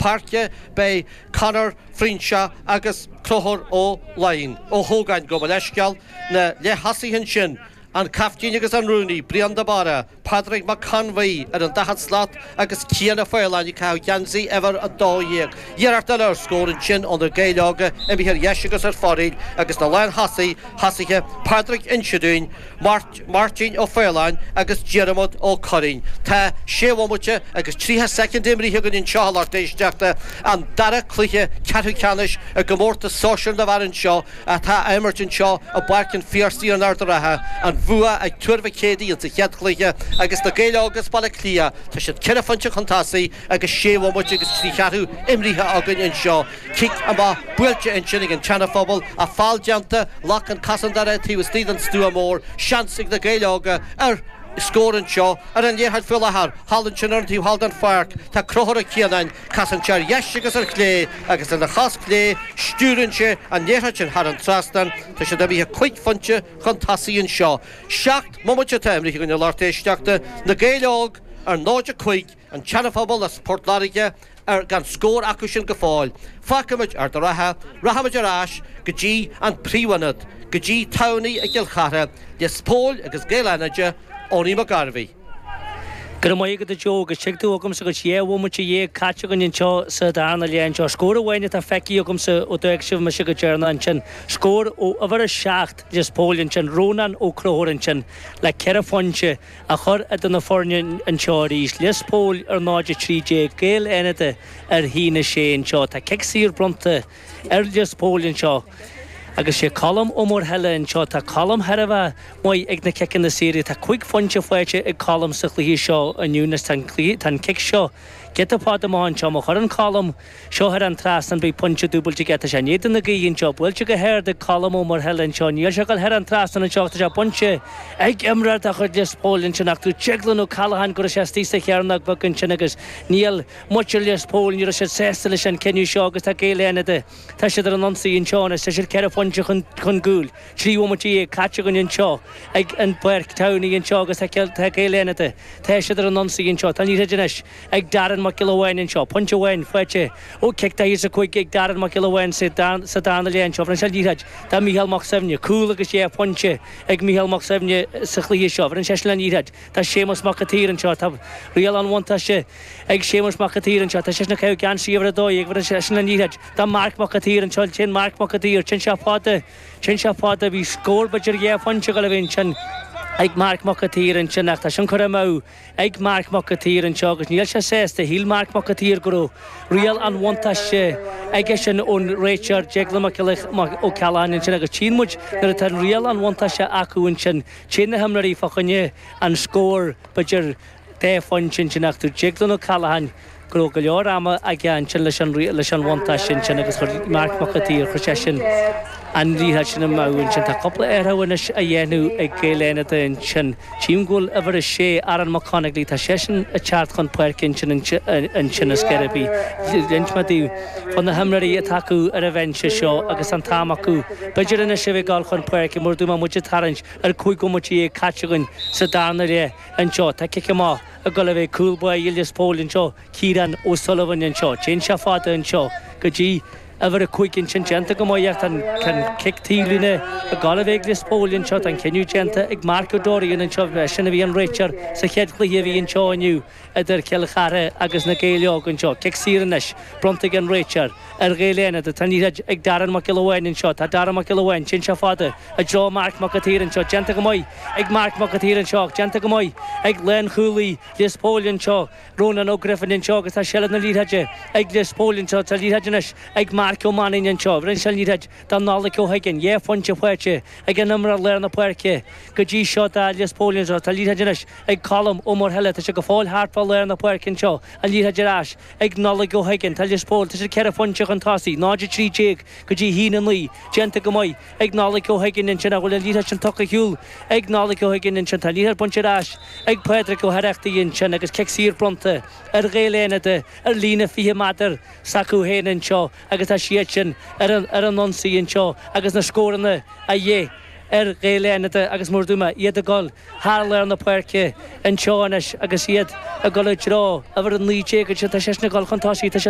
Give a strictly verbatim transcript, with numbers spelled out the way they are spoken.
páirce beidh Conor Frínse agus Conchúr Ó Laighin ó Hógáin gabh mo leithscéal na leath-thosaithe ansin an captaen agus an rúnaí Brian de Barra, Padraig Mac Conmhaí ar an daichead slat agus Cian Ó Faoláin ag caitheamh geansaí uimhir a dó dhéag. Iarracht eile ar scór ansin ó na Gaeil Óga imithe ar dheis agus ar foraíl agus na lánthosaithe thosaithe Pádraig Inse Dúin, Máirtín Ó Faoláin agus Diarmuid Ó Curraoin. Tá sé bhomaite agus tríocha soicind imrithe againn anseo a lucht éisteachta, an dara cluiche ceathrú ceannais i gcomórtas sóisir na bhfear anseo atá á imirt anseo i bPáirc an Phiarsaigh in Ard an Rátha, an bua ag Tuar Mhic Éadaigh insa chéad chluiche agus na Gaeil Óga as Baile Átha Cliath, tá siad ceithre phointe chun tosaigh agus sé bhomaite agus trí cheathrú imrithe againn anseo. Cic amach buailte ansin ag an Seana-Phobal, ach feall déanta, ghlac an cosantóir é taobh istigh den stua mór, seans ag na Gaeil Óga ar scór anseo ar an liathróid faoi láthair, thall ansin ar an taobh thall den pháirc, tá Conchúr Ó Cianáin, casann sé ar dheis agus ar chlé agus lena chos chlé stiúrann sé an liathróid sin thar an trasnán. Tá siad imithe cúig phointe chun tosaigh anseo. Seacht mbomaite atá imrithe againn a lucht éisteachta, Na Gaeil Óg ar náid a cúig, an tSeana-Phobal as Port Láirge ar gan scór acu sin go fóill. Fágfaimid Ard an Rátha, rachaimid ar ais go dtí an príomhionad, go dtí Tamhnaigh i gCill Chartha, Lios Póil agus Gaeil Fhánada, Owenie McGarvey. Go raibh maith agat a Joe agus tuig tú agamsa go sé bhomaite dhéag caite againn anseo sa darna leath anseo. Scór amháin atá feicthe agamsa ó d'fhág sibh mise go deireanach ansin. Scór ó uimhir a seacht Lios Póil ansin, Rónán Ó Conchúir ansin le ceithre phointe a chur idir na foirne anseo arís. Lios Póil ar náid a trí déag, Gaeil Fhánada ar haon a sé anseo. Tá cic saor bronnta ar Lios Póil anseo. Agus sé Colm Ó Muirthile anseo, tá Colm thar a bheith maith ag na ciceanna saora, tá cúig phointe faighte ag Colm sa chluiche seo inniu agus tá an cluiche, tá an cic seo giota fada amach anseo. Má chuireann Colm seo thar an trasnán beidh pointe dúbailte aige. Tá sé in éadan na gaoithe anseo, buailte go hard ag Colm Ó Muirthile anseo, níl sé ag dul thar an trasnán anseo ach tá sé bainte ag imreoir de chuid Lios Póil ansin ach dúirt Declan O'Callaghan go raibh sé istigh sa chearnóg bheag ansin agus níl muintir Lios Póil, ní raibh siad sásta leis an cinneadh seo agus tá Gaeil Fhánada Tá siad ar an ionsaí anseo anois, tá siad ceithre phointe chun chun cúil, trí bhomaite dhéag caite againn anseo ag an bPáirc Tamhnaigh anseo agus tá tá Gaeil Fhánada, tá siad ar an ionsaí anseo. Tá an liathróid anois ag Darren Mac Giolla Bháin anseo, pointe amháin faighte ó chic daichead is a cúig ag Darren Mac Giolla Bháin sa sa darna leath anseo. Bhronn sé an liathróid do Mhícheál Mac Suibhne, cúl agus dhá phointe ag Mícheál Mac Suibhne sa chluiche seo. Bhronn seisean an liathróid do Séamus Mac an tSaoir anseo. Tá riail an bhuntáiste ag Séamus Mac an tSaoir anseo. Tá seisean ag caitheamh geansaí uimhir a dó dhéag. Bhronn seisean an liathróid do Marc Mac an tSaoir anseo. Téann Marc Mac an tSaoir. Téann sé fada. Téann sé fada. Bhí scór b'fhéidir dhá phointe ag dul a bheith ansin ag Marc Mac an tSaoir ansin ach tá sin curtha amú ag Marc Mac an tSaoir anseo agus níl sé sásta. Shíl Marc Mac an tSaoir go raibh riail an bhuntáiste aige sin ón réiteoir Declan Mac Ó Cealláin ansin agus tchíonn muid nuair atá an riail an bhuntáiste acu ansin téann na himreoirí fá choinne an scór b'fhéidir dhá phointe ansin ach dúirt Declan O'Callaghan go raibh go leor ama aige ansin leis an leis an bhuntáiste ansin agus chuir Marc Mac an tSaoir chuir sé sin an liathróid sin amú ansin. Tá cúpla athrú anois á dhéanamh ag Gaeil Fhánada ansin. Tchím go bhfuil uimhir a sé Aaron Mac Conagly, tá seisean ag teacht chun páirce ansin ansin is gurb í. D'inis mé daoibh fá na himreoirí atá acu ar an bhinse seo agus an t-am acu b'fhéidir anois a bheith ag dul chun páirce mar dúirt mé muid ag tarraingt ar cúig bhomaite dhéag caite againn sa darna leath anseo. Tá cic amach ag dul a bheith cúl báire Lios Póil anseo, Ciarán O'Sullivan anseo. Téann sé fada anseo go dtí uimhir a cúig ansin déanta go maith ach tá an cic taobhlíne ag dul a bheith ag Lios Póil anseo. Tá an cinneadh déanta ag Mark O'Dorian anseo, sin a bhí an réiteoir sa chéad chluiche a bhí anseo inniu idir Cill Chartha agus na Gaeil Óga anseo. Cic saor anois bronnta ag an réiteoir ar Ghaeil Fhánada. Tá an liathróid ag Darren Mac Giolla Bháin anseo. Tá Darren Mac Giolla Bháin, téann sé fada i dtreo Marc Mac an tSaoir anseo. Déanta go maith ag Marc Mac an tSaoir anseo ach déanta go maith ag lánchúlaí Lios Póil anseo, Ronan Ó Griffin anseo agus tá seilbh na liathróide ag Lios Póil anseo. Tá liathróid anois ag Marc Ó Mainnín anseo. Rinne sé an liathróid do Nollaig Ó hUiginn. Dhá phointe faighte ag an imreoir lár na páirce go dtí seo do Lios Póil anseo. Tá liathróid anois ag Colm Ó Muirthile. Tá sé go fóill thart fá lár na páirce anseo. An liathróid ar ais ag Nollaig Ó hUiginn. Tá Lios Póil, tá siad ceithre phointe chun tosaigh, náid a trí déag go dtí haon a naoi. Déanta go maith ag Nollaig Ó hUiginn ansin ach bhfuil an liathróid sin tugtha ar shiúl ag Nollaig Ó hUiginn ansin. Tá an liathróid bainte ar ais ag Pádraig Ó hOireachtaigh ansin agus cic saor bronnta ar Ghaeil Fhánada ar líne fiche méadar s'acu féin anseo agus tá siad sin ar an ar an ionsaí anseo agus na scóranna a dhíth ar Ghaeil Fhánada agus mar a dúirt mé iad ag dul thar lár na páirce anseo anois agus iad ag dul i dtreo uimhir a naoi déag ansin tá seisean ag dul chun tosaigh tá siad